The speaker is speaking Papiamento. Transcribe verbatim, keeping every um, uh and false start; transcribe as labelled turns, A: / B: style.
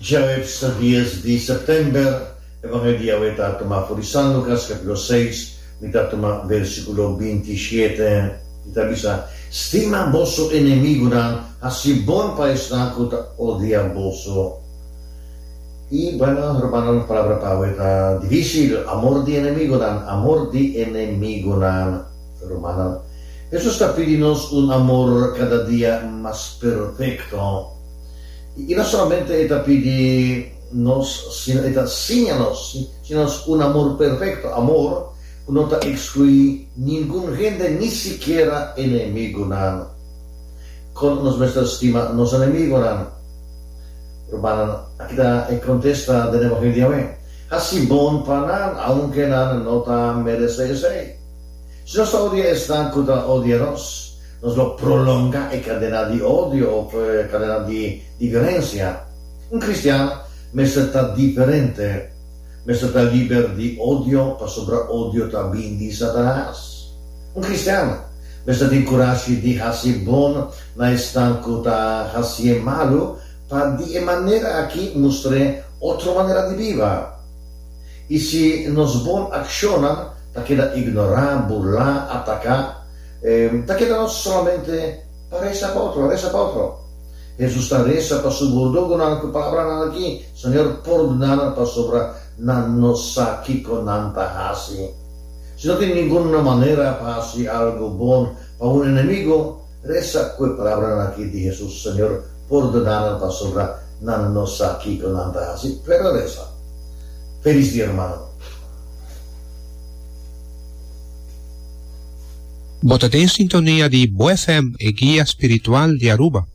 A: Djaweps dies di sèptèmber, Evangelio di awe ta tumá for di San Lukas kapítulo seis, mi ta tuma versíkulo binti shete, i ta bisa, Stima boso enemigunan, hasi bon pa esnan ku ta odia boso. I, bueno, rumannan, palabra pa awe ta difísil, amor di enemigunan, amor di enemigunan, rumannan. Hesus ta pidi nos un amor kada dia mas perfekto. I no solamente e ta pidi nos, sino e ta siña nos, siña nos un amor perfekto, amor ku no ta ekskluí ningun hende, ni sikiera enemigunan. Kon nos mester stima nos enemigunan? Rumannan, aki ta e kontesta den Evangelio di awe, Hasi bon pa nan, aunke nan no ta meresé esei. Si nos ta odia esnan ku ta odia nos, nos lo prolongá e kadena di odio òf e kadena di di violensia. Un kristian mester ta diferente, mester ta liber di odio pasobra odio ta bin di Satanas. Un kristian mester tin kurashi di hasi bon na esnan ku ta hasié malu pa di e manera aki mustr'é otro manera di biba. I si nos bon akshonnan ta keda ignorá, burlá, ataká, ta keda nos solamente pa resa pa otro, resa pa otro. Hesus ta resa pa su burdugunan ku palabranan aki, Señor, pordona nan pasobra nan no sa kiko nan ta hasi. Si no tin ningun manera pa hasi algu bon pa un enemigu, resa ku e palabranan aki di Hesus, Señor, pordona nan pasobra nan no sa kiko nan ta hasi. Pero resa. Felis dia, rumannan.
B: Bo ta den sintonia di Bo F M, e guia spiritual di Aruba.